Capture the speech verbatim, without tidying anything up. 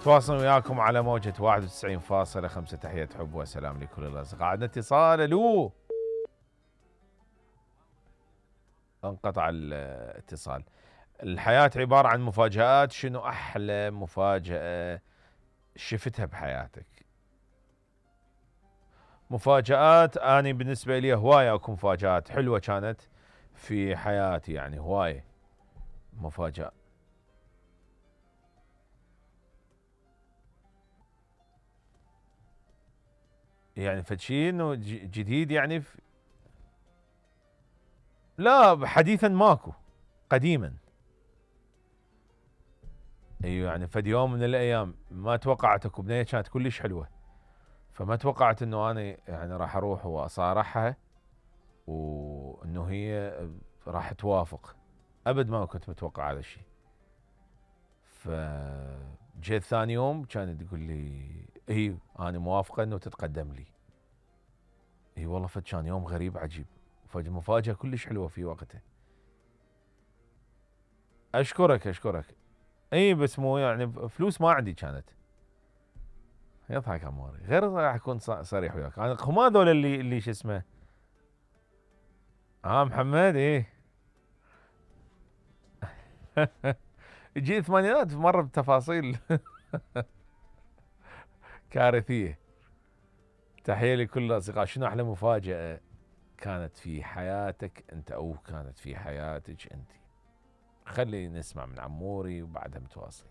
نتواصل وياكم على موجة واحد وتسعين فاصلة خمسة. تحية حب وسلام لكل الأصدقاء. عندنا اتصال. الو، انقطع الاتصال. الحياة عبارة عن مفاجآت. شنو أحلى مفاجأة شفتها بحياتك؟ مفاجآت، أنا بالنسبة لي هواية أكو مفاجآت حلوة كانت في حياتي، يعني هواية مفاجأة. يعني فشي انه جديد يعني في... لا حديثا ماكو، قديما. ايوه يعني فد يوم من الايام ما توقعت اكو بنية كانت كلش حلوة، فما توقعت انه انا يعني راح اروح واصارحها وانه هي راح توافق. ابد ما كنت متوقع هذا الشيء. فجيت ثاني يوم كانت تقول لي اي انا موافقة انه تتقدم لي. اي والله فد كان يوم غريب عجيب، فد مفاجأة كلش حلوة في وقتها. اشكرك اشكرك. اي بس مو يعني فلوس ما عندي كانت. يضحك عموري، غير راح اكون صريح وياك. انا هم هذول اللي اللي شو اسمه اه محمد. ايه يجي الثمانينات مره بتفاصيل كارثيه. تحيه لكل الاصدقاء. شنو احلى مفاجاه كانت في حياتك انت او كانت في حياتك انت؟ خلي نسمع من عموري وبعدها متواصل.